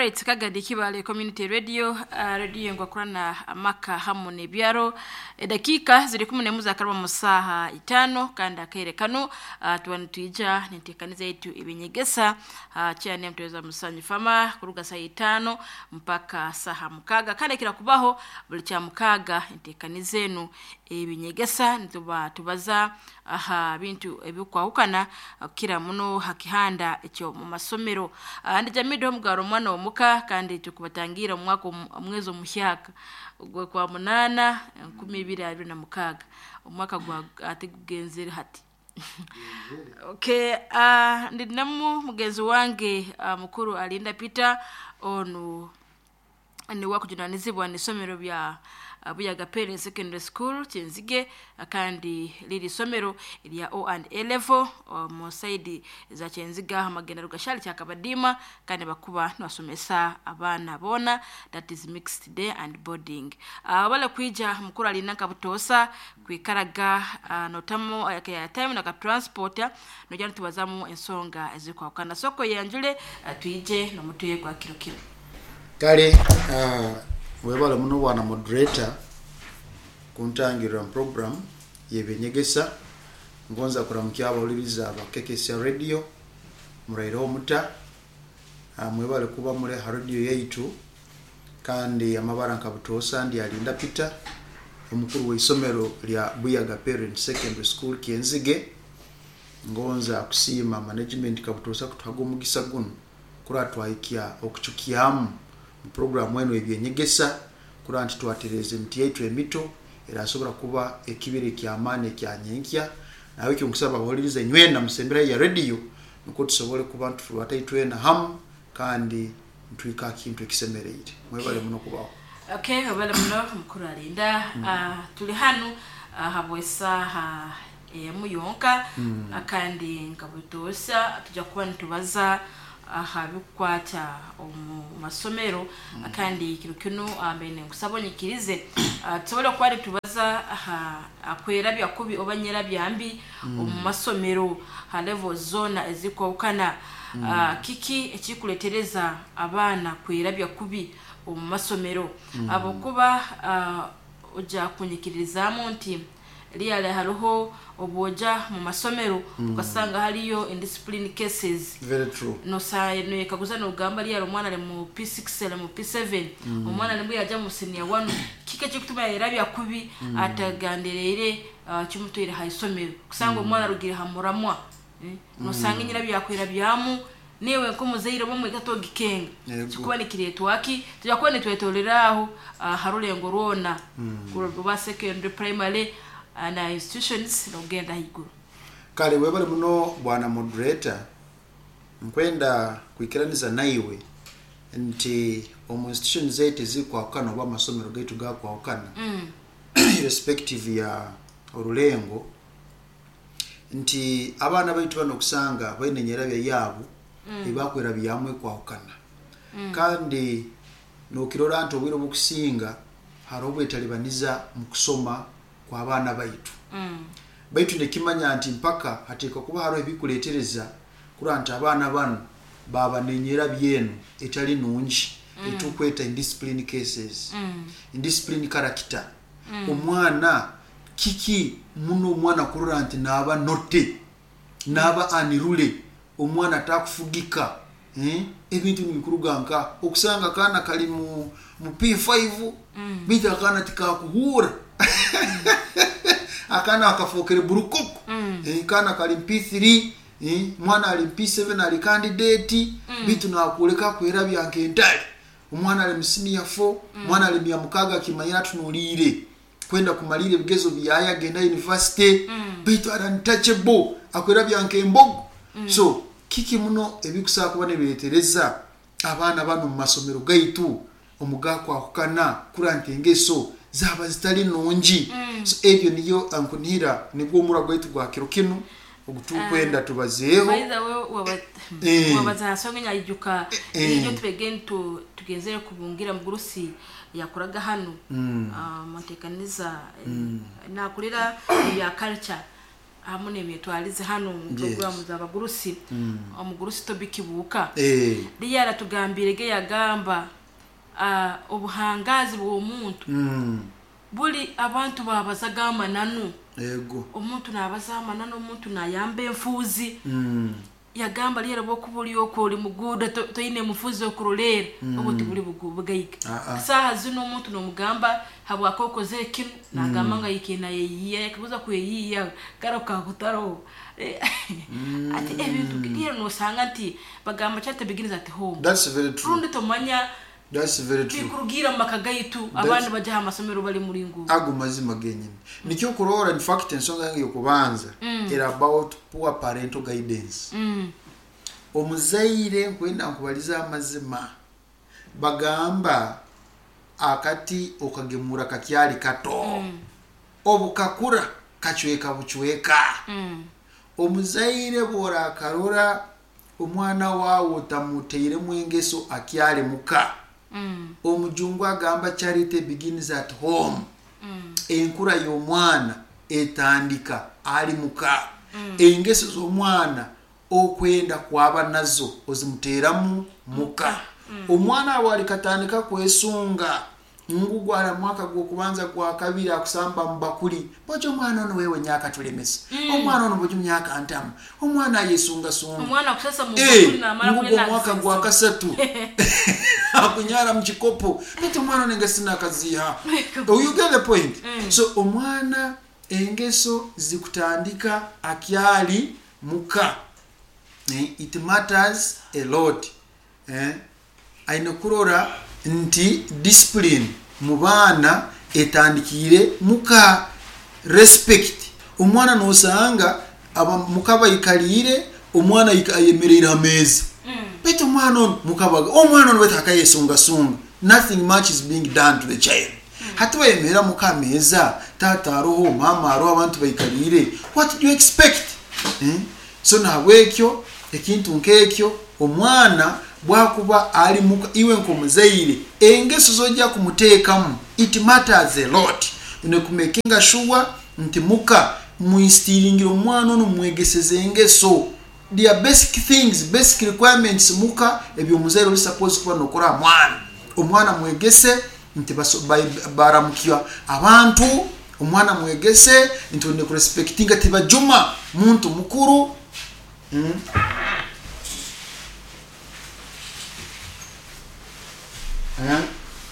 Alright, kagadi Kibale Community Radio, radio ngwakurana amaka hamu n'ebyaro. Edakiika ziri 11 zakarwa mu saha 5 kandi akaire kano tuba nitwija nintekaniza yetu ebinyegesa kyane mutweza musanyu fama kuruga saa 5 mpaka saha 6 kandi kira kubaho buli kya 6 entekaniza enu ebinyegesa nituba tubaza aha bintu ebikwahukana kira muno hakihanda ekyo mu masomero. Ndi jamido mugaro mwana omuka kandi tukubatangira omwaka omwezi omuhyaka gwe kwa 8 2026 omwaka gwa atigugenzere hati. Okay, ndinamu mugenzi wange mukuru Alinda Peter onu ni wakujunanizibwa n'isomero bya Buyaga Parents Secondary School Kyenzige, kandi liri somero lya O and A level mu side za Kyenziga hamagenda rugashali kyakabadima kandi bakuba nibasomesa abaana bona, that is mixed day and boarding. Bale kwija mukuru Alinda nkabutosa kwikaraga notamu ya time na ka transporter nojya tubazamu ensonga ezikwakana soko yanjule twije nomutuye kwa kiro kiro. Kale webale muno bwana moderator kuntangirira program yebinyegesa. Ngonza kuramukya abawuliriza abakekesya radio muraire omuta, mwebale kuba mule ha radio yaitu kandi amabara nkabutosa ndi Alinda Peter omukuru w'isomero lya Buyaga Parents Secondary School Kyenzige. Ngonza kusiima management kabutosa kutuhaga omugisa guno kura twahikya okucukyamu programu eno ebyenyegesa kura nti twatereze emiti yaitu emito erasobora kuba ekibiri kyamaani ekyanyenkya. Nawe ekyo nkusaba abawuliriza nywena musembera ya radio nukwo tusobole kuba ntufurwata itwena hamu kandi ntwika kintu ekisemereire. Mwebale muno kubaho. Okay, webale muno mukuru Alinda. Tuli hanu habwesaha muyonka kandi nkabutosa tujja kuba nitubaza aha bikwata omu masomero kandi kiro kino mbene nkusaba onyikirize tusobole kuba nitubaza aha akwera byakubi oba nyera byambi omu masomero ha level zona ezikwawukana. Kiki ekikuletereza abaana kwera byakubi omu masomero abokuba ojja kunyikirizaamu nti liyale hariho obwoja mu masomero ukasanga hariyo indiscipline cases. Very true. Nosa noyekaguza nogamba liyale omwana ali mu P6 ali mu P7 omwana ali yaja mu senior 1 kike kikutuma yerabya kubi ataganderere kimutwire ha isomero kusanga omwana arugire ha muramwa nosanga nyira byakwira byamu niwe nkomuzaire bo mwikato gikenga kikuba nikiretwaki tujya kuba nitwetoreraho harulengo rwona kuba secondary primary na institutions nogenda higuru. Kale webale muno bwana moderator, nkwenda kwikiraniza naiwe nti omu institutions zaitu ezikwahukana oba amasomero gaitu gakwahukana irrespective ya orulengo nti abaana baitu bano okusanga baine enyerabya yaabo ebakwera byamu ekwahukana kandi nokirora nti obwire obukusinga hariho obwetalibaniza mu kusoma kw'abaana baitu. Baitu nekimanya nti mpaka hateekwa kuba hariho ebikuleetereza kurora nti abaana bano baba nenyerabya eno etali nungi etukweta indiscipline cases, indiscipline character. Omwana kiki muno omwana kurora nti naaba note naaba anirule omwana atakufugika ebintu nibikuruga nka okusanga akaana kali mu P5 baitu akaana tikakuhuura akaana akafokere burukoko kaana kali mu P3 mwana ali mu P7 ali candidate baitu nakuleka kwerabya nk'entale. Omwana ali mu senior 4 mwana ali mya 6 akimanyira atunuliire kwenda kumalira ebigezo byaye agenda university baitu ari untouchable akwerabya nk'embogo. So kiki muno ebikusaba kuba nibiretereza abaana bano mu masomero gaitu omugakwahukana kura nti engeso zaba zitali nungi. So ebyo niyo nkunihira nigwo omura gwaitu gwa kiro kinu ogutukwenda tubazeeho. By the way, wabaza hasonga nyayijuka iyo tubegeni tugenzere kubungira mugurusi yakoraga hano mutekaniza nakurira ya culture. Hamu n'emyetwarize hanu mu programu z'abagurusi, omugurusi Tobi Kibuuka. Liya aratugambirege, yagamba obuhangazi bw'omuntu buli abantu babazaga amananu. Omuntu nabaza amananu, omuntu nayamba enfuuzi. Yagamba lyero bwokuba oli okwo oli muguuda, toine mufuzi okuroleera, obwo tibuli bugaiga. Saaha zino omuntu nomugamba habwaki okozere kinu, nagamba nga yike nayeyiiya, yakaguza kweyiiya karo kakutaroho. Ati ebintu lyero nosanga nti bagamba charity begins at home. That's very true. Rundi tomanya. That's very true. Bikurugiira mu maka gaitu, abandi bajya aha masomero bali muringo. Ago mazima genyini nikyo kurora. In fact, ensonga yange yokubanza era about poor parental guidance. Omuzaire, nkwenda nkubaliza amazima, bagamba akati okagemura kakyali kato, obukakura kacweka bucweka. Omuzaire bworakarora omwana wawe otamuteiremu engeso akyali muka, omujungu agamba charity begins at home. Enkura y'omwana etandika ali muka. Engeso z'omwana okwenda kwaba nazo ozimuteramu muka. Omwana awo alikatandika kwesunga ngu gwara mwaka gwokubanza, gwa kabiri, akusamba mubakuli bojo, omwana ono wewe nyaka tulemesa. Omwana ono bojo myaka ntamu, omwana ayesungasunga. Omwana akusasa mu bakuli namara. Ngugo omwaka gwa kasatu akunyara mu kikopo, baitu omwana ono engeso nakaziha. Oh, you get the point. So omwana engeso zikutandika akyali muka. It matters a lot. Aine kurora nti discipline mu baana etandikiire muka. Respect, omwana nosanga muka baikaliire, omwana ayemereire ha meeza, baitu omwana ono mukabaga omwana ono baitu akayesungasunga. Nothing much is being done to the child. Hati bayemerera muka ameeza, taata aroho, mama aroho, abantu baikaliire, what do you expect, eh? So nahabwekyo ekintu nk'ekyo, omwana bwakuba ali muka, iwe nk'omuzaire engeso zojja kumuteekamu, it matters a lot. Nekumakinga sure nti muka muinstiringira omwana ono, mwegeseze engeso. There are basic things, basic requirements muka ebyomuzaire oli suppose kuba nokora ha mwana. Omwana mwegese nti baramukya abantu, omwana mwegese nti one kurespectinga, tibajuma muntu mukuru.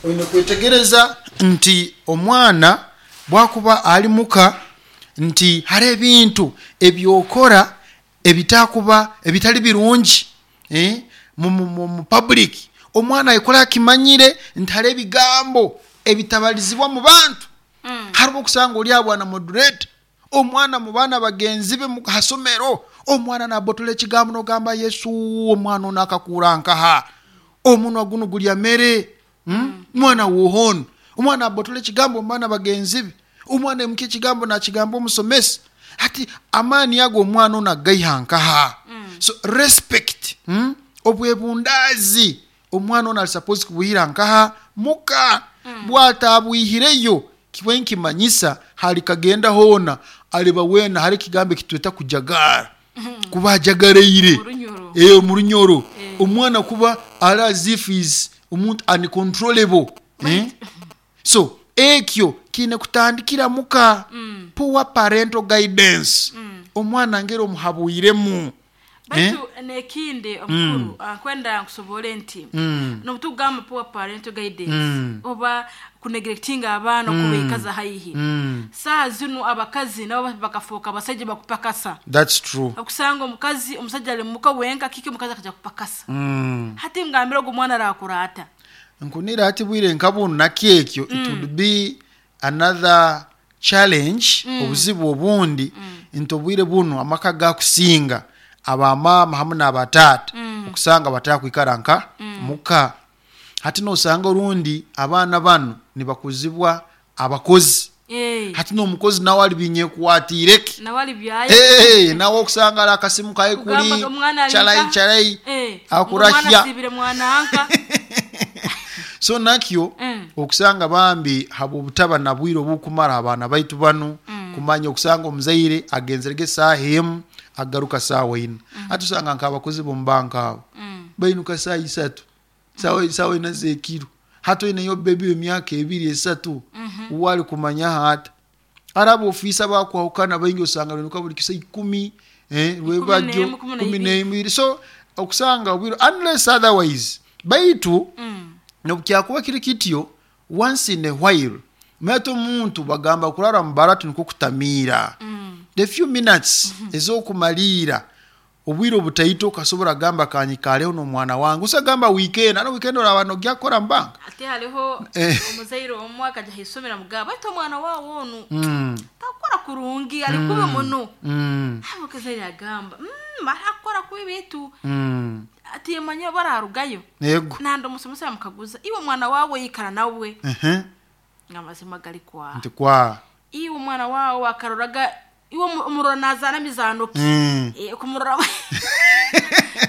Oine kwetegereza nti omwana bwakuba ali muka nti hari ebintu ebyokora ebitakuba ebitali birungi, mu public, omwana ayikora akimanyire nti hari ebigambo ebitabalizibwa mu bantu. Hariho okusanga oli abwana moderator, omwana mu baana bagenzi be hasomero, omwana nabotola ekigambo nogamba, Yesu, omwana ono akakura nkaha omunwa guno gulya mere? Mwana wohono omwana abotola ekigambo mu baana bagenzi be, omwana emuka ekigambo nakigamba omusomesa. Hati amaani ago omwana ono agaiha nkaha? So respect, Obwebundaazi omwana ono ali suppose kubuhira nkaha? Muka. Bwatabwihireyo, kiba nkimanyisa hali kagenda hoona aliba weena hari ekigambo ekitweta kujagara, kuba ajagaraire. Orunyoro. Mu runyoro. Omwana kuba ali as if is omuntu uncontrollable, eh? So ekyo kiine kutandikira muka. Poor parental guidance. Omwana ngeri omuhabwiremu. Baitu nekindi omukuru, nkwenda nkusobole nti nobutugamba poor parental guidance oba kuneglectinga abaana okubaikaza haihi, saaha zinu abakazi nabo bakafuuka abasajja bakupakasa. That's true. Okusanga omukazi, omusajja ali muka wenka, kiki omukazi akaja kupakasa. Hati ngambira ogu omwana arakura ata? Nkunira hati bwire nka bunu nakyo ekyo, it would be another challenge. Obuzibu obundi nti obwire bunu amaka gakusinga abamama hamu n'abataata okusanga batakwikara nka muka. Hati nosanga orundi abaana banu nibakuzibwa abakozi. Hati n'omukozi nawe ali binyekwatireke. Nawe ali byaye. Nawe okusanga ali akasimu kaye kuli Kugamba omwana ali chalai chalai akurahya. Omwana asibire mwananka. So nakyo okusanga bambi habwobutaba na bwire obukumara abaana baitu banu. Kumanya okusanga omuzaire agenzerege saaha emu, agaruka saawa ina. Hati osanga nk'abakozi b'omu banka abo bainuka saaha isatu, saawa ina z'ekiro. Hati oineyo bebi w'emyaka 2, 3, uwe ali kumanyaho ata? Hari abofiisa bakwahukana baingi, osanga bainuka buli kisa 10, rwebagyo 11, kumi 12. N'ebiri. So okusanga obwire, unless otherwise, baitu nobukyakuba kiri kityo, once in a while mate omuntu bagamba kurara mubaratu nikwo kutamiira. The few minutes ez'okumaliira obwire obutaito, okasobora gamba kanyikareho n'omwana wange, usagamba weekend, ano weekend oraba nogya kukora mu banka. Ate hariho omuzaire omwe akajya ahaisomero amugamba, baitu omwana wawe onu takukora kurungi, ari kubi muno. Omukazaire agamba, arakora kubi bitu atimanya bararugayo. Nandi omusomesa yamukaguza, iwe omwana wawe yikara nawe? Ngamazima gari kwa Nti kwa iwe omwana wawe akaroraga iwe omurora nazana mizano ki? Kumurora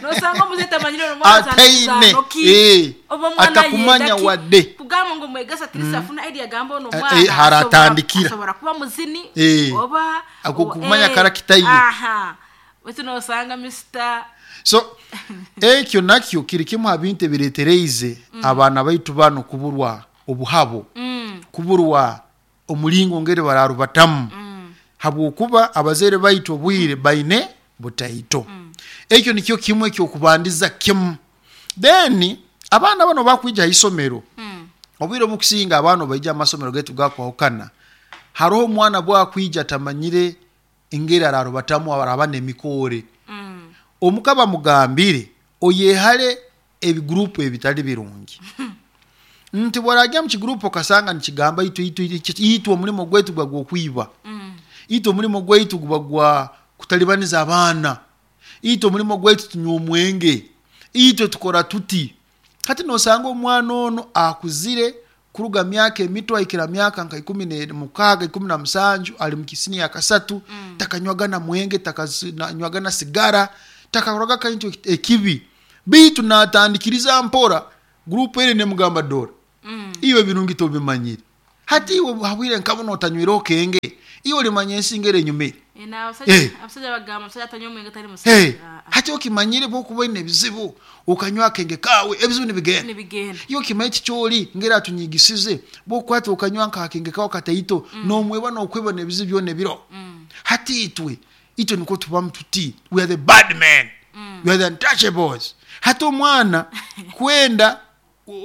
nosanga omuzeyi tamanyire omwana azana Ataine. mizano ki. Oba omwana Atakumanya yenda ki? wadde. Kugamba ngu mwegesa atirisi afuna idea, agamba ono omwana haratandikira. Asobora kuba muzini oba Ako kumanya character ye. Aha, wetu nosanga Mr. So ekyo nakyo kiri kimu ha bintu ebiretereize abaana baitu bano kuburwa obuhabo, kuburwa omulingo ngeri bararubatamu, habwokuba abazaire baitu obwire baine butaito. Ekyo nikyo kimwe ekyokubandiza kimu. Then abaana bano bakwija haisomero, obwire obukusinga abaana baija amasomero gaitu gakwahukana, haroho omwana bwakwija atamanyire engeri ararubatamu, araba n'emikoore. Omukaba mugambire oyehale ebigurupu ebitali birungi, nti bwarajya mu kigurupu okasanga nikigamba itwe itwe itwe omulimo gwaitu guba gw'okwiba, itwe omulimo gwaitu guba gwa kutalibaniza abaana, itwe omulimo gwaitu tunywa omwenge, itwe tukora tuti. Hati nosanga omwana ono akuzire kuruga myaka emito ahikira myaka nka 16, 17, ali mu kisini ya kasatu, takanywaga na mwenge, takanywaga na sigara, takakoraga kantu ekibi, bitu natandikiriza mpora gurupu ere nemugamba, dora iwe birungi tobimanyire, hati iwe habwire nkabona otanywire okenge, iwe olimanya ensi ngere enyumire. Abasajja bagamba omusajja atanywa omwenge tali musajja. Hati okimanyire bwokuba oine ebizibu okanywa akenge kawe, ebizibu nibigenda. Nibigenda. Iyo okimanyi kikyoli ngeri atunyigisize, bwokwata okanywa nkakenge kawe kataito, nomweba nokweba nebizibu byona ebiro. Hati itwe niko tubamu tuti we are the bad men, we are the untouchables. Hati omwana kwenda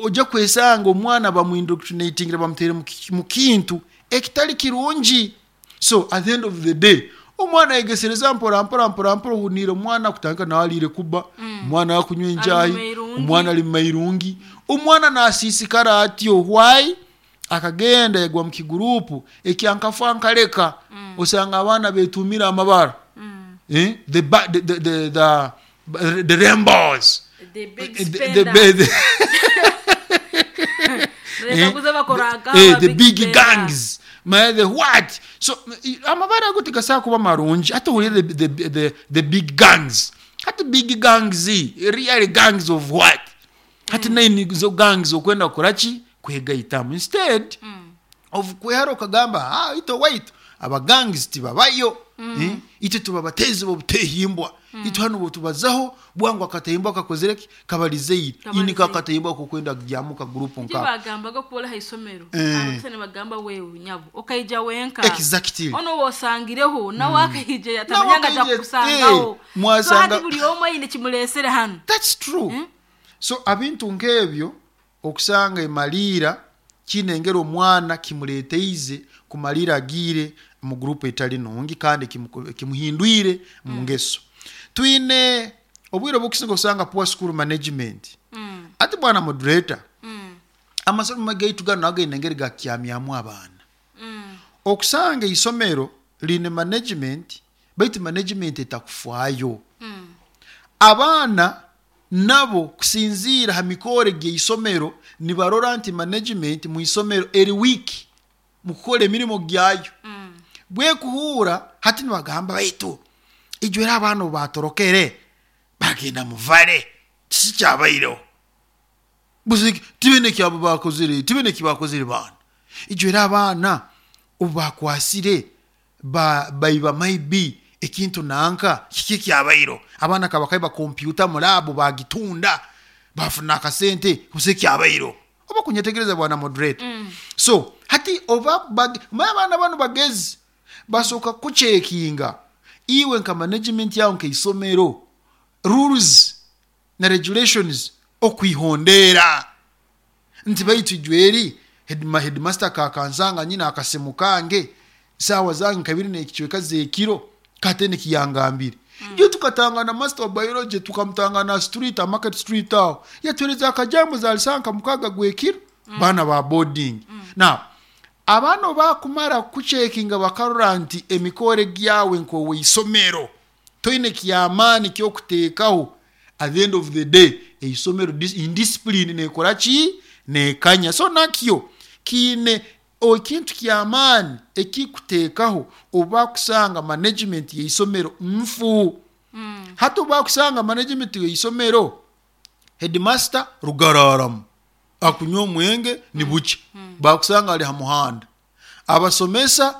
ojja kwesanga omwana bamuindoctrinatingire, bamutere mu kintu ekitali kirungi. So at the end of the day omwana ayegesereza mpora mpora mpora mpora, ohuniire omwana kutandika nawe aliire kuba, omwana akunywa enjayi, omwana ali mumairungi, omwana nasiisikara atyo. Why? Akagenda yagwa mu kigurupu ekyankafa nkaleka. Osanga abaana betumire amabara, the, the, the, the, the, the rainbows, the big the, spender. the, the big gangs, the what. So amabara ago tigasobola kuba marungi. Ate ohulire the big gangs, hati big gangs, real gangs of what? Hati naini zo gangs okwenda kukoraki? Kwegaitamu instead of kwehara okagamba, ah, ito waitu abagangs tibabayo. Itwe tuba batezi bobutehimbwa, itwe hano botubazaho bwangu akatahimbwa kakozereki kabalizeire ini kakatahimbwa kokwenda kugyamuka gurupu nka bagambaga kubola haisomero. Abasani bagamba, wewe nyabo okaija wenka. Ono wosangireho nawe akaija yatamanyanga ja kusangaho. Mwasanga so buli omwe aine kimulesere hano. That's true. So abintu nk'ebyo okusanga emaliira kinengera omwana kimuleteize kumalira agiire mu gurupu etali nungi, kandi kimuhindwire mu ngeso. Twine obwire obukusinga osanga poor school management. Ati bwana moderator, amasomero gaitu gano againe engeri gakyamyamu abaana. Okusanga isomero line management, baitu management etakufaayo. Abaana nabo kusinziira ha mikore gy'isomero nibarora nti management mu isomero eri weak mu kukora emirimu gyayo. Bwekuhuura hati nibagamba, baitu ijwera abaana batorokere bagenda muvale, kiki kyabaireho? Tibine kyabo bakozere, tibine kibakozere baana. Ijwera abaana obu bakwasire Baiba maybe ekintu nanka kiki ekyabairo, abaana kabakaiba kompyuta mu laabu bagitunda bafuna akasente, busa ekyabairo. Oba kunyetegereza, bwana moderator? So hati oba manya abaana banu bagezi, basooka kucheckinga iwe nka management yawe nkaisomero, rules na regulations okwihondera nti baitu ijweri headmaster kakansanga nyina akasimu kange sawa zange kabiri nekicweka zekiro kate nikiyangambire. Iyo tukatangana master wa biology, tukamutangana street, market street aho, yatwereza akajambo zalisanka mukaga gwekiro. Bana ba boarding. Now abaana bakumara kucheckinga bakarora nti emikore gyawe nkowe isomero toine kyamaani kyokuteekaho, at the end of the day eisomero indiscipline nekora ki? Nekanya. So nakyo kiine ekintu kyamaani ekikuteekaho oba kusanga management yeisomero nfu. Hati oba kusanga management yeisomero, headmaster rugararamu akunywa omwenge ni buki, bakusanga ali ha muhanda, abasomesa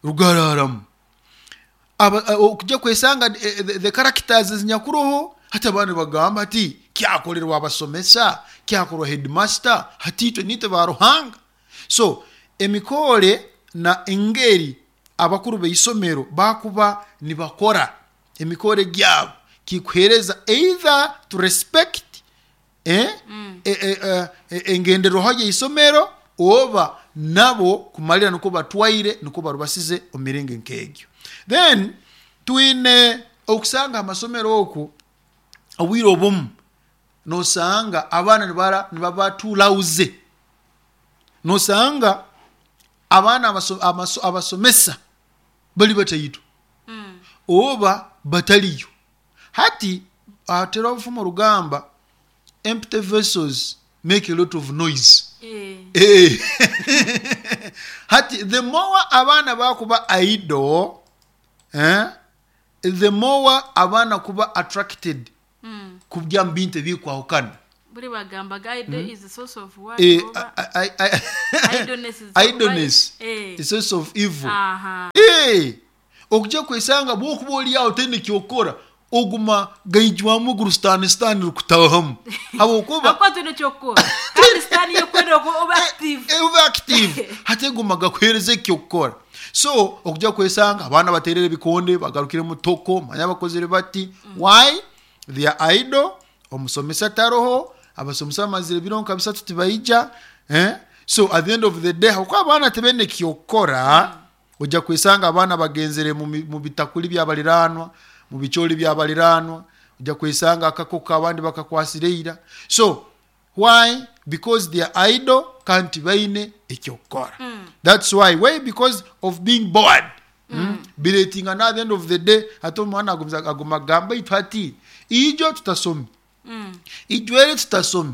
rugararamu, okujja kwesanga the characters zinyakuroho. Hati abaana bagamba ati kyakolerwa abasomesa, kyakorwa headmaster, hati itwe nitwe ba Ruhanga. So emikore na engeri abakuru b'eisomero bakuba nibakora emikore gyabo kikuhereza either to respect engenderwaho y'eisomero oba nabo kumalira niko batwaire niko barubasize omu miringo nk'egyo. Then twine okusanga amasomero oku obwire obumu nosanga abaana nibaba tulauze, nosanga abaana abasomesa bali bataito oba bataliyo. Hati atera obufumu rugamba, empty vessels make a lot of noise. Hati the more abaana bakuba idle, the more abaana kuba attracted kubya mu bintu ebikwahukana. Buri bagamba idle is the source of what? Oba? Idleness is Idleness the source of evil. Okujja kwesanga bwokuba oli awo tene kyokora, oguma gaijwamu guru sitani, sitani rukutahamu habwokuba Akuba tene kyokora kandi sitani yokwenda oba active. Oba active, hati eguma gakuhereza ekyokukora. So okujja kwesanga abaana baterere ebikonde, bagarukire mu toko, manya bakozere bati. Why they are idle? Omusomesa taroho, abasomesa bamazire ebiro nka bisatu tibaija, So at the end of the day, habwokuba abaana tebene kyokukora, ojja kwesanga abaana bagenzere mu bitakuli byabaliranwa, mu bicholi byabaliranwa, ojja kwesanga akakoko abandi bakakwasire ira. So why? Because they are idle, kanti baine ekyokukora. That's why? Because of being bored. Biretinga na at the end of the day ate omwana aguma agamba itwe ati ijo tutasome, ijwere tutasome,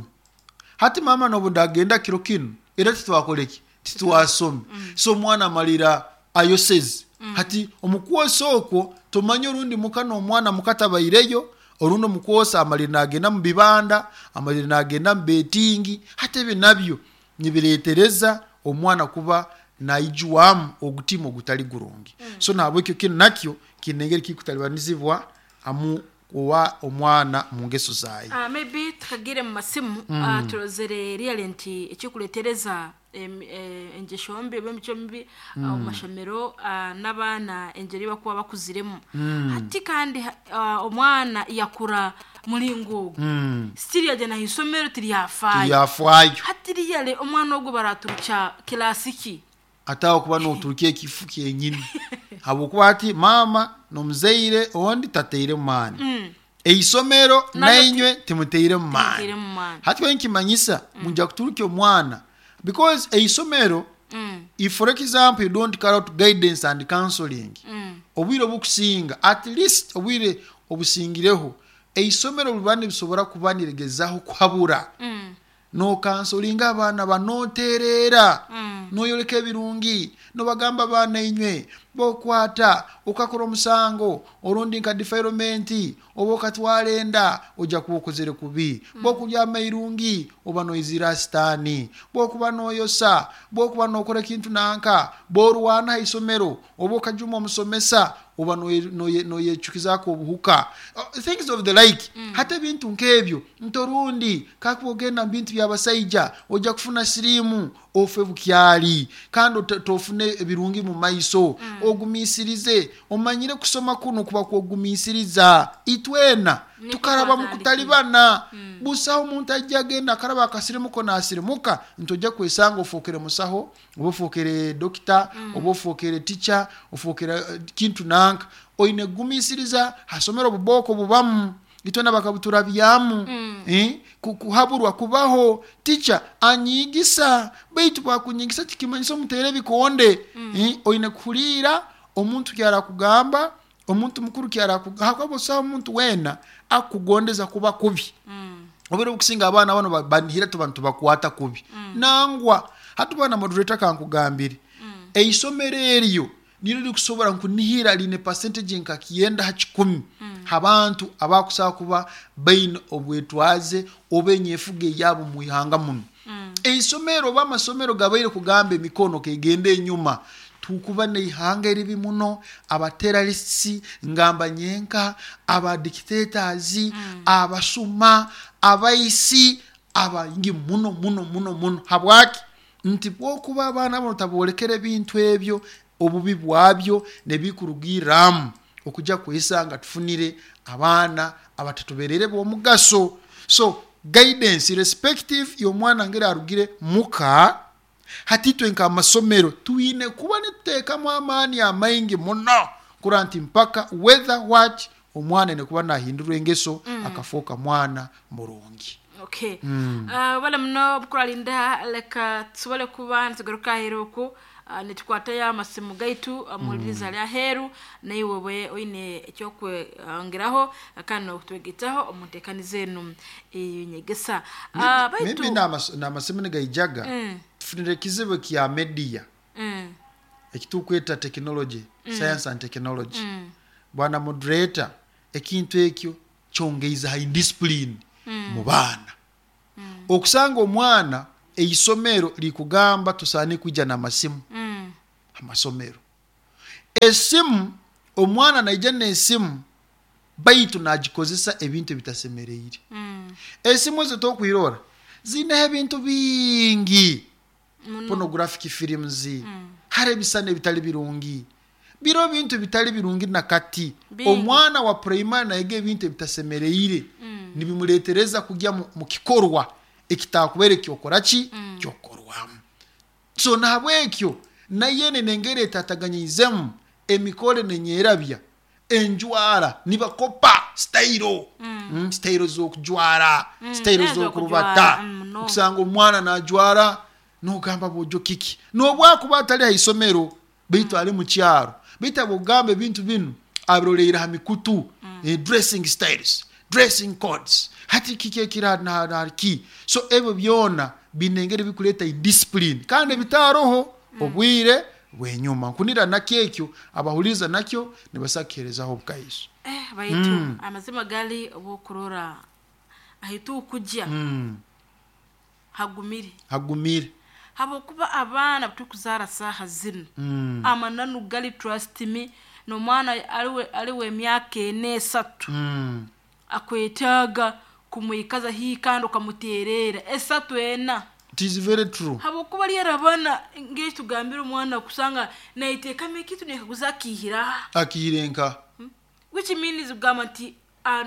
hati mama nobu ndagenda kiro kino era titwakoreki, titwasome. So omwana amalira ayoseze. Hati omukwosa okwo tomanye orundi muka n'omwana mukatabaireyo, orundi omukwosa amalira nagenda mu bibanda, amalira nagenda mu betingi. Hati ebyo nabyo nibiretereza omwana kuba naijwamu ogutima ogutali gurungi. So nahabwekyo kinu nakyo kiine engeri kikutalibanizibwa amu owa omwana mu ngeso zaye. Maybe tukagire mu masimu, turozere really nti ekikuletereza engesho mbi oba emico mibi omu mashomero, n'abaana engeri bakuba bakuziremu. Hati kandi omwana yakura mulingo ogwo, still yagenda ahisomero tiryafaayo. Tiryafaayo. Hati riyale omwana ogwo baraturukya kilasiki? Ataho kuba noturuka ekifu kyenyini, habwokuba ati mama nomuzaire ondi tateire maani, eisomero nainywe timuteire mu maani. Timuteire mu maani. Hati wenkimanyisa munja kuturukya omwana because eisomero, if for example you don't carry out guidance and counseling, obwire obukusinga, at least obwire obusingireho, eisomero biba nibisobora kuba niregezaho kuhabura, nokansolinga abaana banoterera. Noyoleka ebirungi, nobagamba baana inywe bokwata okakora omusango orundi nka defilement oba okatwara enda ojja kuba okozere kubi, bwokulya amairungi oba noizira sitaani, bwokuba noyosa, bwokuba nokora ekintu nanka, borwana ha isomero oba okajuma omusomesa oba noyecukizaako obuhuka, things of the like. Hati ebintu nk'ebyo ntorundi kakuba ogenda mu bintu by'abasaija ojja kufuna siriimu ofe bukyali, kandi tofune ebirungi mu maiso. Ogumiisirize, omanyire kusoma kunu kuba kwogumiisiriza. Itwena Nikwo tukaraba mu twatandikire. kutalibana, busaho omuntu ajja agenda akaraba akasirimuko nasirimuka nti ojja kwesanga ofookere musaho oba ofookere dokita oba ofookere tica ofookere kintu nanka. Oine kugumiisiriza, hasomero obubooko bubamu, itwena bakabuturabyamu. Kuhaburwa kubaho, tica anyiigisa, baitu bwakunyigisa tikimanyisa omuteera ebikonde. Oine kuhuliira omuntu kyarakugamba, omuntu mukuru kyarakugamba, hakuba busaho omuntu weena akukugondeza kuba kubi. Obwire obukusinga abaana bano banihira tuba nitubakwata kubi. Nangwa hati bwana moderator kankugambire, eisomero eryo niryo rikusobora nkunihira riine percentage nka 90 ha 100 habantu abakusobola kuba baine obwetwaze oba enyefuga eyabo mu ihanga muno. Eisomero oba amasomero gabaire kugamba emikono kegenda enyuma, tukuba neihanga eribi muno, aba terrorists, ngamba nyenka, aba dictators, abasuma, abaisi, abaingi muno muno muno muno. Habwaki? Nti bwokuba abaana bano taboolekera ebintu ebyo, obubi bwabyo nebikurugirramu okujja kwesanga tufunire abaana abatatuberere b'omugaso. So guidance irrespective y'omwana ngeri arugire muka, hati itwe nk'amasomero twine kuba nituteekamu amaani amaingi muno kurora nti mpaka whether what omwana aine kuba nahindurwa engeso akafooka mwana murungi. Okay. Bale muno obukuralinda, leka tusobole kuba nitugaruka aheeru oku, nitukwatayo amasimu gaitu, muhuliriza ali aheeru, naiwe obe oine ekyokwongeraho kandi nokutwegetaho omu nteekaniza enu ey'enyegesa. Baitu Maybe n'amasimu nigaijaga, tufunire ekizibu ekya media, ekitukweta technology, science and technology. Bwana moderator, ekintu ekyo kyongeize ha indiscipline mu baana. Okusanga omwana eisomero likugamba tusaane kwija n'amasimu amasomero. Esimu, omwana naija n'esimu baitu nagikozesa ebintu ebitasemereire. Esimu ezo tokwirora ziineho ebintu bingi, pornographic films, hariho ebisani ebitali birungi, biriho ebintu ebitali birungi nakati. Bingi. Omwana wa primary nayega ebintu ebitasemereire, nibimuletereza kugya mu kikorwa ekitakubaire kyokora ki? Kyokukorwamu. So nahabwekyo nayene nengeri etataganyiizemu emikore nenyerabya enjwara nibakopa sitayiro, sitayiro z'okujwara, sitayiro z'okurubata. Muno. Okusanga omwana najwara nogamba bwojo kiki, nobwakuba atali ha isomero baitu ali mu kyaro, baitu abokugamba ebintu binu abiroleire ha mikutu, dressing styles, dressing codes, hati kiki ekiri ki. So ebyo byona biine engeri bikuleeta indiscipline kandi ebitaaroho obwire bw'enyuma. Nkunira nakyo ekyo abahuliriza nakyo nibasobola kukiheerezaho obukaiso. Baitu amazima gali obwokurora ahitukujya hagumire. Hagumire. Habwokuba abaana butukuzaara saaha zinu, amananu gali trust me, n'omwana aliwe emyaka 4 3 akwetaaga kumwikaza haihi kandi okamuteerera 3 4. It is very true. Habwokuba lyerabana ngeri tugambire omwana kusanga naiteekamu ekintu nekaguza akiihira. Akiihire nka? Which means kugamba nti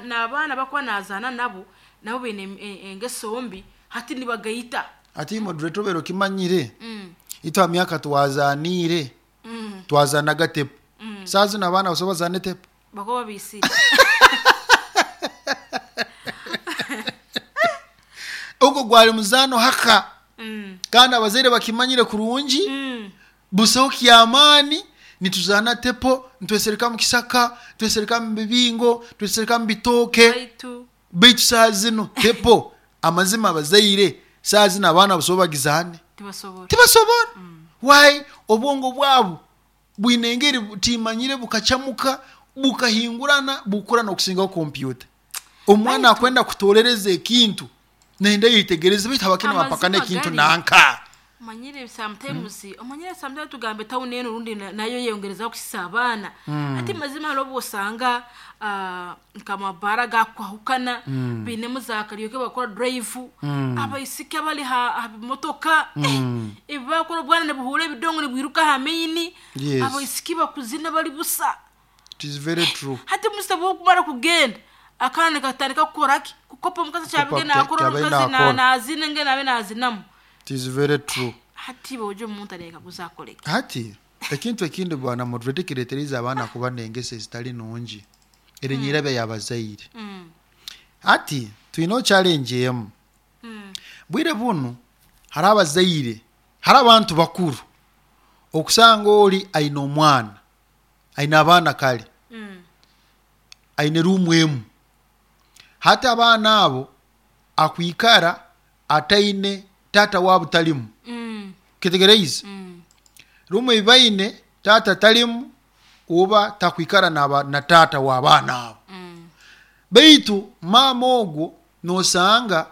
n'abaana bakuba nazaana nabo, nabo baine engeso mbi, hati nibagaita. Hati moderator obaire okimanyire, itwe ha myaka twazaniire, twazanaga tepo. Saaha zinu abaana basobola bazaana etepo? Bakuba babiisire. Ogwo gwali muzaano haka, kandi abazaire bakimanyire kurungi, busaho kyamaani, nituzaana tepo, nitwesereka mu kisaka, twesereka mu bibingo, twesereka mu bitooke. Baitu Baitu saaha zinu tepo, amazima abazaire saaha zinu abaana basobola bagizaane? Tibasobora. Tibasobora. Why? Obwongo bwabo bwine engeri timanyire, bukacamuka, bukahingurana, bukura n'okusingaho kompyuta. Omwana akwenda kutolereza ekintu nenda yetegereze, baitu habakina bapaka Amazima n'ekintu gari. Nanka Omanyire sometimes, omanyire sometimes tugambe tawuni eno rundi nayo yeyongerezaho kusisa abaana. Ati mazima hariho obu osanga nkamabara gakwahukana, bainemu za karaoke, bakora drive, abaisiki abali ha bimotoka, ebi bakora obwana nibuhuura ebidongo nibwiruka aha maini. Abaisiki bakuzina bari busa. It is very true. Hati musa bwokumara kugenda, akaana katandika kukora ki? Kukopa omukazi kyabige nakora, kyabaire omukazi nakora. nazina nge nabe nazinamu. It is very true. Hati bojo omuntu areka kuzakoreka. Hati ekintu ekindi, bwana moderator, kireetereza abaana kuba n'engeso ezitali nungi, erinyirabya yabazaire. Hati twine challenge emu. Bwire bunu hari abazaire, hari abantu bakuru, okusanga oli aine omwana, aine abaana kale, aine ruumu emu. Hati abaana abo akwikara ataine taata waabo, talimu. Kitegereize? Ruumu ei baine taata talimu, oba takwikara na taata w'abaana abo. Baitu maama ogwo nosanga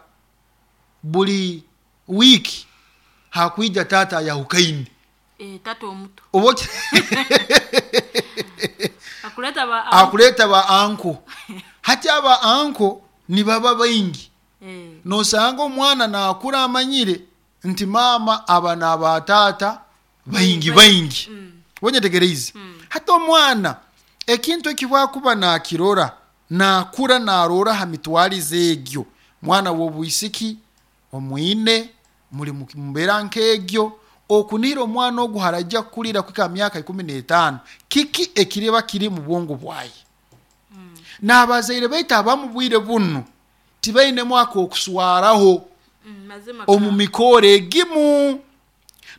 buli wiiki hakwija taata ayahukaine. Eh, tata omuto. Oba akuleta ba Akuleta ba uncle. Hati aba uncle nibaba baingi. Nosanga omwana nakura amanyire nti maama aba n'abataata baingi baingi. Wenyetegereize? Hati omwana ekintu ekibwakuba nakirora, nakura narora ha mitwarize egyo. Mwana w'obwisiki omwine muri mumbeera nk'egyo, okunihira omwana ogu harajya kukurira kwika myaka 15, kiki ekiriba kiri mu bwongo bwaye? N'abazaire baitu abamu bwire bunu tibainemu akokuswaraho. Mazima. Omu mikoro egimu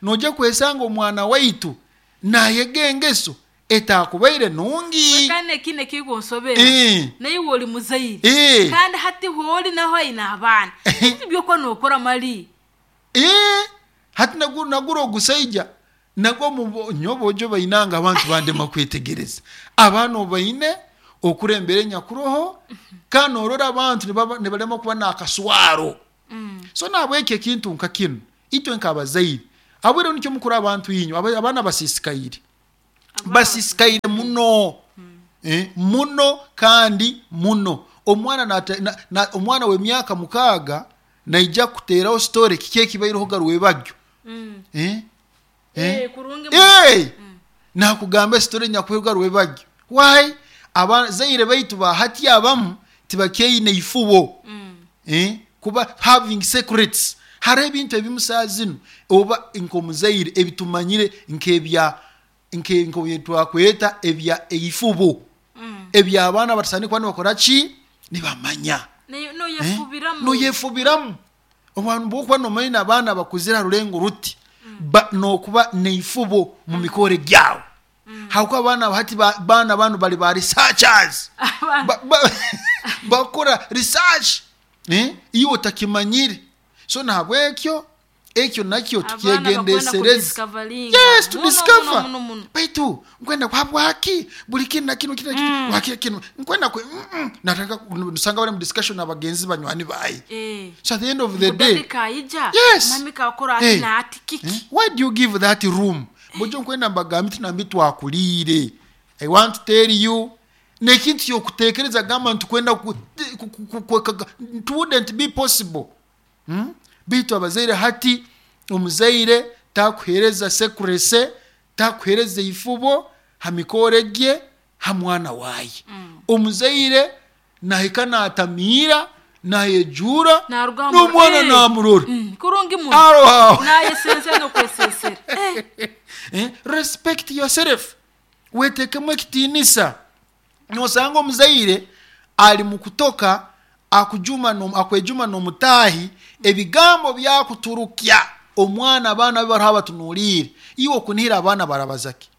nojja kwesanga omwana waitu nayega engeso etakubaire nungi. Kandi ekindi ekikunsobera, naiwe oli muzaire, kandi hati hooli naho aine abaana, ebintu byokuba nokora mali. Hati nagura ogusaija nagwo nyowe ojo bainanga abantu bandema kwetegereza abaana obaine okurembera enyakuroho, kandi norora abantu nibalema kuba nakaswaro. So nabwekyo ekintu nka kinu, itwe nk'abazaire abwire nikyo mukuru, abantu inywe abaana basisikaire, basisikaire muno, muno kandi muno. Omwana omwana w'emyaka 6 naija kuteraho story kiki ekibaireho garwebajyo. Eh, kurungi. Nakugamba story nyakuheruga rwebajyo. Why? Abazaire baitu bahati abamu tibakyeine ifubo. Kuba having secrets, hariho ebintu ebimu saa zinu oba nk'omuzaire ebitumanyire nk'ebya twakweta ebya eifubo, ebyabaana batasani kuba nibakora ki, nibamanya. Noyefubiramu. Noyefubiramu. Obwantu bwokuba nomanya abaana bakuzire ha rulengo ruti, nokuba neifubo mu mikore gyawe, hakuba abaana hati baana banu bali ba researchers. Bakora research, iwe otakimanyire. So nahabwekyo ekyo nakyo Abaana tukyegendesereze. Kudiscoveringa. Yes, to Muno, discover. muno, muno, muno. Baitu nkwenda kwabwaki buli kinu na kinu kinu na kinu waki kinu nkwenda kwe nataka nusanga bali mu discussion n'abagenzi banywani bayi. So at the end of the day, Daddy kaija. Yes. Mami kakora ati na ati kiki. Why do you give that room? Bojo nkwenda mbagambe tinambi twakulire, I want to tell you nekintu kyokutekereza gamba nti kwenda it wouldn't be possible, Bitu abazaire hati, omuzaire takuhereza secrecy, takuhereza ifubo ha mikore gye ha mwana waye. Omuzaire nahika natamiira, nayejura Naruga n'omwana namurora. Kurungi muno. Aro aho. Nayesensera nokwesensera. Respect yourself, wetekemu ekitiinisa. Nosanga omuzaire ali mu kutoka akujuma akwejuma n'omutaahi, ebigambo byakuturukya omwana, abaana be bariho abatunuliire. Iwe okunihira abaana barabazaki?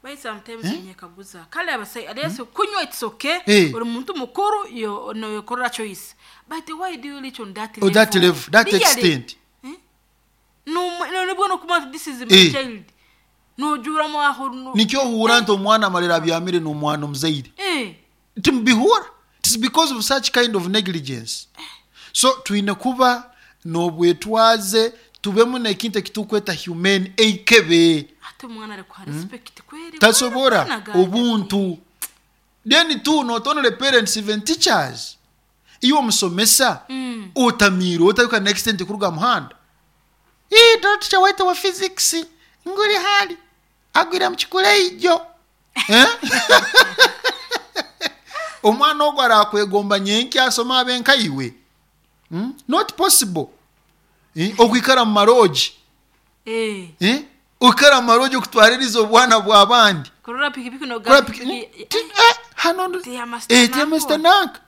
Bai sometimes nyekaguza kale abasai alese kunywa, it's okay. Uri muntu mukuru yo no yokorera choice, but why do you reach on that Oh, that level, that Really? extent. No, nibwo nokuba want this is my child. Nojuramu aho Nikyo ohuura nti omwana amalira abyamire n'omwana omuzaire. Timubihura. It's because of such kind of negligence. So twine kuba n'obwetwaze, tubemu n'ekintu ekitukweta humane, eikebe. Ate omwana arikuha respect kweri. Tasobora Mwana ganja. Obuntu. Then too, not only parents, even teachers. Iwe omusomesa otamiire otayuka next ente kuruga muhanda. Ii, teacher waitu wa physics nguri hali agwire mu kikuleijo. Eh? Omwana ogwo arakwegomba nyenkya asoma abe nkaiwe? Not possible. Eh? Okwikara mu maroji. Eh? Okwikara mu maroji okutwaririza obwana bw'abandi. Kurora pikipiki Kora noga hano Tiyamasita tiyamasita nanka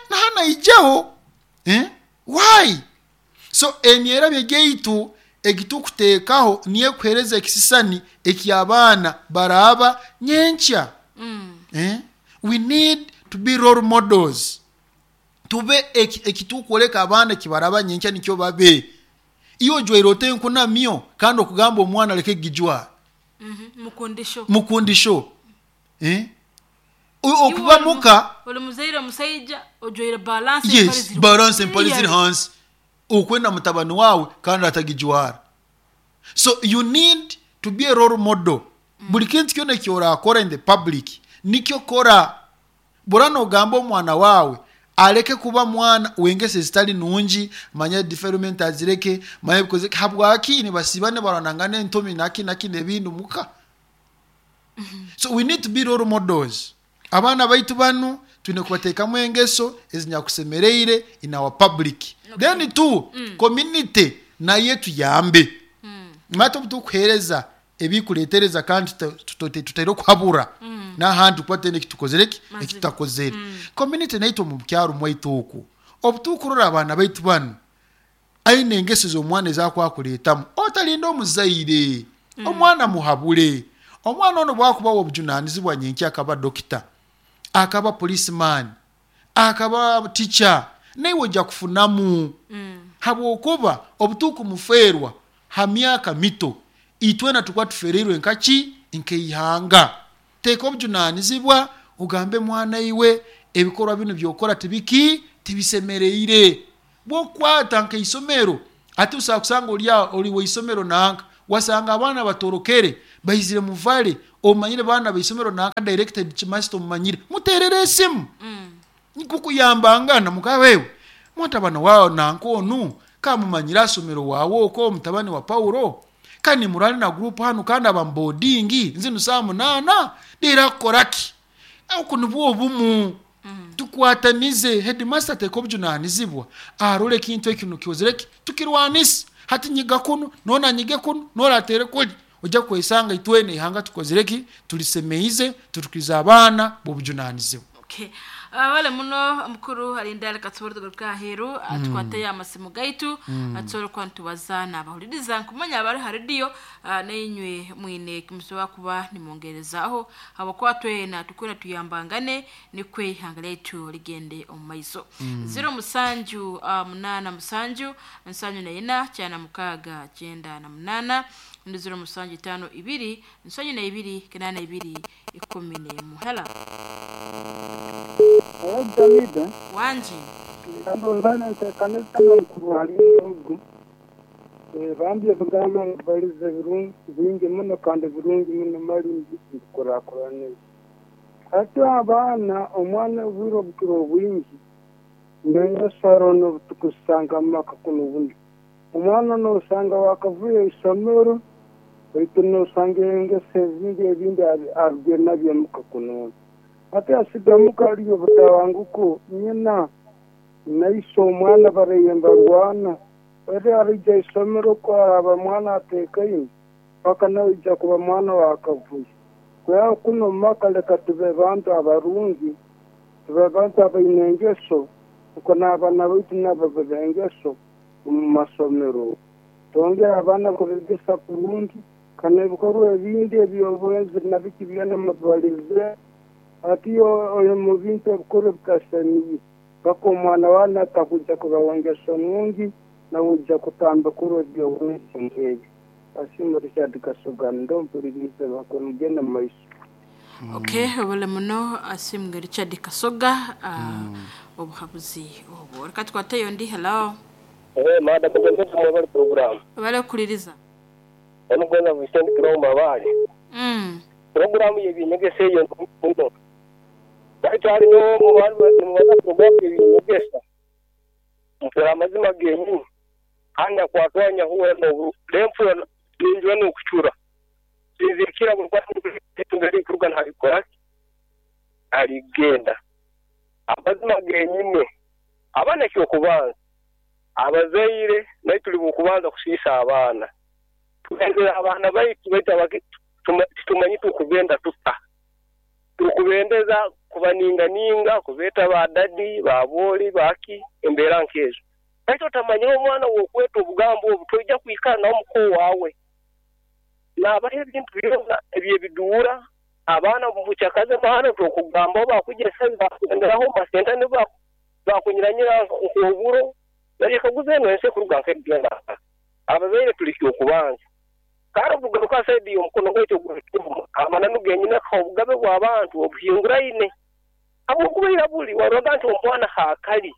nahana ijaho, why? So emyerabye gyaitu egitukuteekaho niyo ekuhereza ekisisani eky'abaana baraaba nyenkya. Eh? We need to be role models, tube ekitukwoleka abaana ekibaraba nyenkya nikyo babe. Iyo ojwaire ote enkunamyo kandi okugamba omwana aleke gijwara? Mukundisho. Mukundisho, eh? Okuba muka Oli muzaire omusaija ojwaire balance. Yes, balance, empale ziri hansi, okwenda mutabani wawe kandi atagijwara. So you need to be a role model. Buli kintu kyona ekyorakora in the public nikyo kora. Bora nogamba omwana wawe aleke kuba mwana wengese zitali nungi, manya defilement azireke, manya bikoze habwaki nibasiba nibaranangana entomi naki naki nebindu muka. So we need to be role models. Abaana baitu banu twine kubateekamu engeso ezinyakusemereire in our public. Then two, community naye tuyambe. Mate obu tukuheereza ebikuletereza kandi tutaire okuhabura n'ahandi tukuba tutaine ekitukozere ki ekitutakozere. Community naitwe omu kyaro mwaitu oku obu tukurora abaana baitu banu aine engeso z'omwana ezakwakuleetamu, otalinda omuzaire, omwana muhabule. Omwana ono bwakubawa obujunanizibwa nyenkya akaba dokita, akaba policeman, akaba teacher, naiwe ojja kufunamu, habwokuba obutukumufeerwa ha myaka mito, itwena tukuba tufereirwe nkaki nkeihanga. Teeka obujunanizibwa ogambe mwana, iwe ebikorwa binu byokora tibiki tibisemereire. Bwokukwata nkaisomero, ati usobola kusanga oli oli waisomero nanka, wasanga abaana batorokere baizire muvale, omanyire baana baisomero nanka, directed kimasita omumanyire, muterere esimu kukuyambangana mukawewe mutabani wawe nanka onu kamumanyire asomero wawe oko mutabani wa Paulo kandi murali na group hanu kandi aba boarding nzinu saa 8 dira kukoraki. Oku nibwo obumu tukwatanize. Headmaster ateeka obujunanizibwa arole ekintu ekinu kiozereki tukirwanise. Hati nyiga kunu nona nyige kunu noratere kuli, ojja kwesanga itwene ihanga tukozereki tulisemeize tutukiriza abaana b'obujunanizibwa. Okay. Wale muno mukuru alinda reka tusobole tugaruka aheeru, tukwateyo amasimu gaitu, tusobole kuba nitubaza n'abahuliriza nkumanya abari ha rediyo nainywe mwine kimusobola kuba nimwongerezaho, habwokuba twena tukwena tuyambangane nikwe ihanga lyaitu ligende omu maiso. 07 8 7 74 96 98 ndi 07 52 72 82 11. Hela. Jamida. Wanji. Ndozana ntekanisa n'omukuru ogu bambi ebigamba balize birungi bingi muno kandi birungi muno mali ndikurakuranire. Hati abaana omwana obwire obukiro obwingi ndengesaro n'obutukusanga mu maka kuno buno omwana nosanga wakavuye isomero baitu nosanga engeso ezindi ebindi arugire nabyo muka kuno ate asiga muka aliyo butabanguko nyina naise omwana bareyemba rwana ere arija isomero kwaraba mwana atekaine paka naija kuba mwana wakavuye. Kwea kuno maka leka tube bantu abarungi, tube bantu abaine engeso uko n'abaana baitu nabo babe engeso omu masomero, twongere abaana kubegesa kurungi kana ebikorwa ebindi eby'obwenzi nabiki byona mubalize. Ati oyo mu bintu ebikorwa bikasemiye paka omwana wana atakuja kuba wengeso nungi nawuja kutamba kurwa eby'obwenzi nk'ebyo. Asiimwe Richard Kasoga ndompuliriize bakomugenda mu maiso. Okay, obule muno Asiimwe Richard Kasoga, obuhabuzi obwo. Reka tukwateyo ndi. Hello. Madam Gonzaga mwebale program. Webale kukuliriza. Onu Gonza Vincent Kirombo Mabale. Program ye byenyegesa eyo nungi muno. Baitu hali nimubaza program ye byenyegesa. Mufera amazima genyini. Kandi akwatwa nyahuura n'obu renfura ninjura n'okucura. Sinzikira buli kwata kuruga ntabikora aligenda. Amazima genyini. Abaana ekyokubanza. Abazaire naye tuli bukubanza kusiisa abaana. Tugendera abaana baitu baitu titumanyi tukubenda tuta. Tukubendeza kubaninganinga, kubeeta ba dadi, ba booli, baki, embeera nkezo. Baitu otamanyire omwana wokweta obugambo obu toija kwikara nawe mukoo waawe. Naabaho ebintu byona ebyebiduura, abaana mubukyakaze baana tokugamba bakugesa bakugenderaho masenta ne bakunyiranyira nk'oburo. Narekaguza eno ensi ekuruga nk'egenda. Abazaire tuli kyokubanza. Kandi obugaruka saidi y'omukono gwaitu ogw'ekivumo, amananu genyine obugabe bw'abantu obuhinguraine. Habwokubaira buli waroga nti omwana haakali.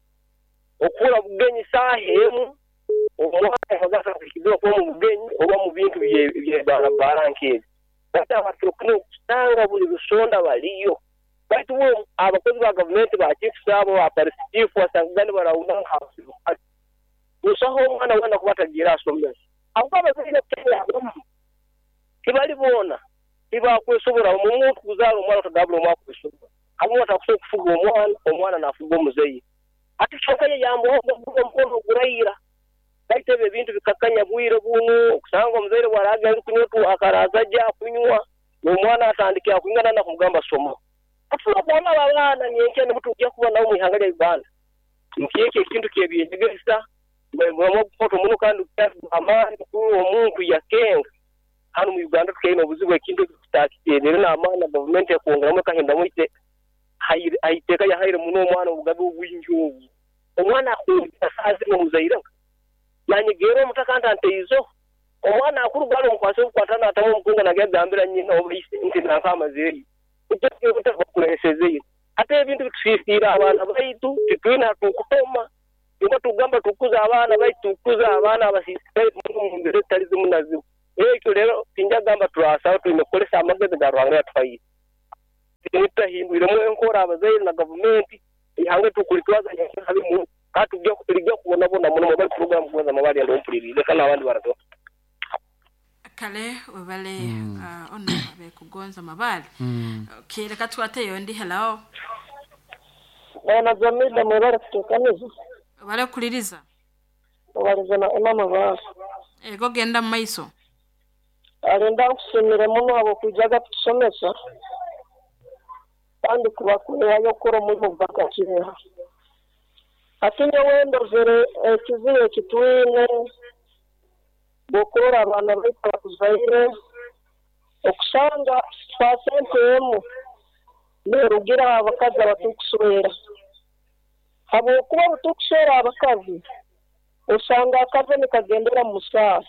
Okura bugenyi saaha emu, omwana agasa kuhikizibwa kuba mu bugenyi oba mu bintu bye barabara nk'ebi. Baitu abantu okusanga buli rusonda baliyo. Baitu bo abakozi ba gavumenti ba chiefs abo ba police chief wasanga ni barawuna nka busaho omwana wena kuba atagira asomesa. Ahubwo abazaire abamu tibali boona tibakwesobora. Omuntu kuzaara omwana otagabula omwana kwesobora. Abamu batakusobola kufuga omwana, omwana nafuga omuzaire. Ati kyonka ye yambuha omukono ogurayira. Baitu ebyo ebintu bikakanya bwire bunu, okusanga omuzaire bwaraga ari kunywa tu akaraza ajja kunywa, omwana atandikira kunywa nana kumugamba soma. Atulabona abaana nyenkya nibutujja kuba nabo mu ihanga lya Uganda. Nkyekyo ekintu kyebyenyegesa, omukoto muno kandi amaani omuntu yakenga. Hano mu Uganda tukaine obuzibu ekintu tutakiterere n'amaani na gavumenti ekwongeramu ekahindamu ite haiteeka yahaire muno omwana obugabe obwingi obu. Omwana akungira saaha zino omuzaire nanyegera omutaka nti anteizo. Omwana akuruga hano omukwase obukwata n'atamu omukungu nagambira nyina oba ise nti nanka amazeeyo. Utakulesezeyo. Ate ebintu bitusiisira abaana baitu titwine hatukutoma. Nimba tugamba tukuza abaana baitu tukuza abaana abasiisikaire mu mbeera ezitali zimu na zimu. Ekyo rero tinjagamba turasaba twine kukozesa amagezi ga Ruhanga yatuhaire. Tutahindwiremu enkora abazaire na gavumenti ihanga tukulitwaza habimu kandi tujja kubonabona muno mobile program kuweza mabali ndompulirize leka n'abandi barato. Kale webale ono bekugonza mabali. Okay, reka twateyo ndi. Hello. Bwana Jamila mwebale kutekaniza. Webale kuliriza. Obaliza na Emma Mabali. Ego genda mu maiso. Alenda nkusimire muno abo kwijaga kutusomesa. Kandi kubakurehayo okukora omurimo gwakakireha. Ati nyowe ndozere ekizibu ekitwine bw'okurora abaana baitu abakuzaire okusanga pasente emu neerugira abakazi abatukuswera. Habwokuba obutukuswera abakazi osanga akazi nikagendera mu musaaha.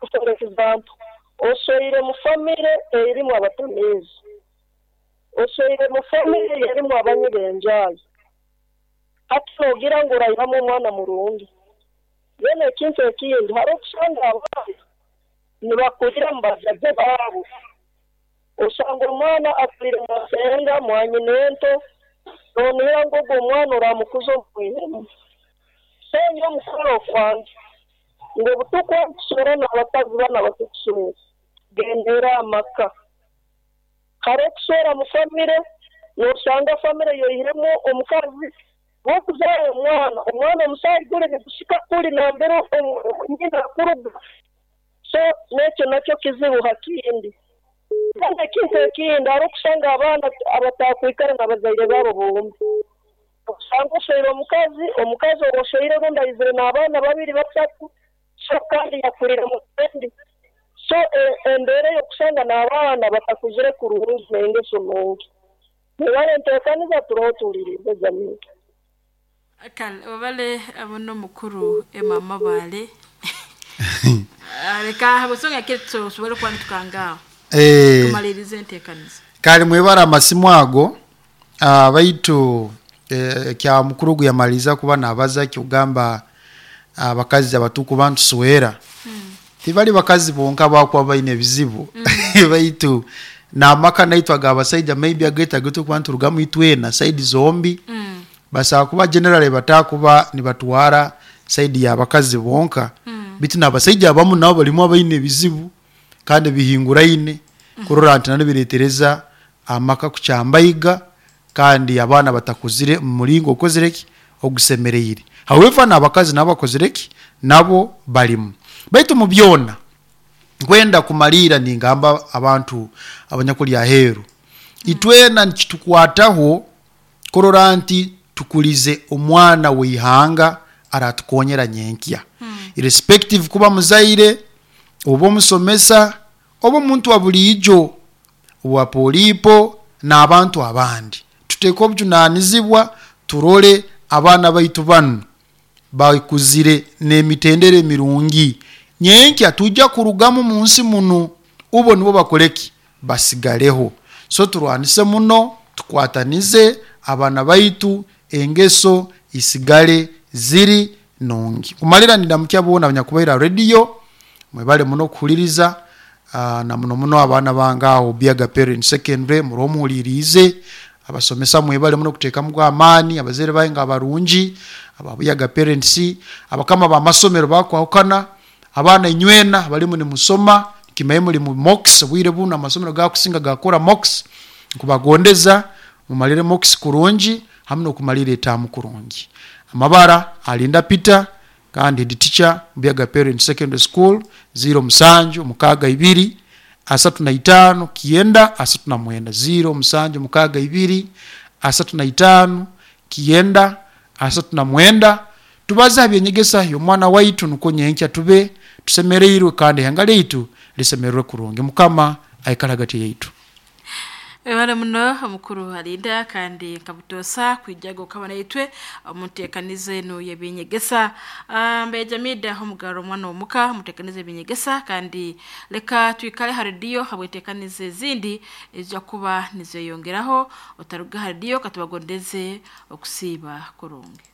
For example, osweire mu famire erimu abatamiizi, osweire mu famire erimu abanywi b'enjaayi. Hati noogira ngu oraihamu omwana murungi. Then ekintu ekindi hariho okusanga abaana nibakurira mu bazaire baabo. Osanga omwana akurire mwasenga mwanyina ento, noonihira ngu ogwo omwana oramukuza omwihemu. So nyowe omukoro kwange ngu obutuku obutuswera n'abakazi banu abatukuswera gendera amaka. Hariho okuswera mu famire noosanga famire yoihiremu omukazi w'okuzaara omwana, omwana omusaayi guri nigushika kuri nambere nyina akuruga. So n'ekyo nakyo kizibu hakindi. Kandi ekintu ekindi hariho okusanga abaana abatakwikara n'abazaire baabo bombi. Osanga osweire omukazi, omukazi ou osweire rundi aizire n'abaana babiri basatu, so kandi yakurire mu kendi. So embeera ey'okusanga n'abaana batakuzire kurungi n'engeso nungi. Mwebale nteekaniza turoho tuwulirize Jamila. Kale webale abono mukuru Emma Mabale. Reka habusonga kitu tusobole kuba nitukangaho tumalirize enteekaniza. Kale mwebara amasimu ago, baitu kya mukuru ogu yamaliriza kuba nabaza kyogamba abakazi abatukuba ntuswera tibali bakazi bonka bakuba baine ebizibu, baitu n'amaka naitwe ag'abasaija maybe agaitu agatukuba niturugamu itwena saidi zombi, basobola kuba generally batakuba nibatwara saidi y'abakazi bonka, bitu n'abasaija abamu nabo balimu abaine ebizibu kandi bihinguraine kurora nti nabyo bireetereza amaka kukyambaiga kandi abaana batakuzire mu muringo okozire ki ogusemereire. However, n'abakazi nabo bakozire ki nabo balimu, baitu mu byona nkwenda kumaliira ningamba abantu abanyakuli aheeru, itwena nikitukwataho kurora nti tukulize omwana w'eihanga aratukonyera nyenkya, irrespective kuba muzaire oba omusomesa oba omuntu wa buliijo owa poliipo n'abantu abandi. Tuteeke obujunanizibwa turole abaana baitu banu bakuzire n'emitendera emirungi, nyenkya tujja kurugamu mu nsi munu ubo nibo bakoleki basigaleho. So turwanise muno, tukwatanize abaana baitu engeso isigale ziri nungi. Kumalira nindamukya boona abanyakubaire ha radio, mwebale muno kuhuliriza, na muno muno abaana bange aho Biaga Parent Secondary muroho muhuliriize, abasomesa mwebale muno kuteekamu amaani, abazaire bange abarungi aba Buyaga Parents, abakama b'amasomero bakwahukana, abaana inywena abalimu nimusoma kimaye muli mu mocks obwire bunu amasomero gakusinga gakora mocks, nkubagondeza mumalire mocks kurungi hamu n'okumalira etaamu kurungi. Amabara Alinda Peter kandi head teacher Buyaga Parent Secondary School, 07 62 35 9 39, 07 62 35 9 39. Tubaze ha byenyegesa y'omwana waitu nukwo nyenkya tube tusemereirwe kandi ihanga lyaitu lisemererwe kurungi. Mukama aikale hagati yaitu. Webale muno omukuru Alinda kandi nkabutoosa kwijaga okaba naitwe omunteekaniza enu y'ebyenyegesa. Mbeja Mida omugaro omwana omuka omuteekaniza ebyenyegesa, kandi leka twikale ha rediyo habweteekaniza ezindi ezija kuba nizeyongeraho. Otaruga ha rediyo katubagondeze okusiiba kurungi.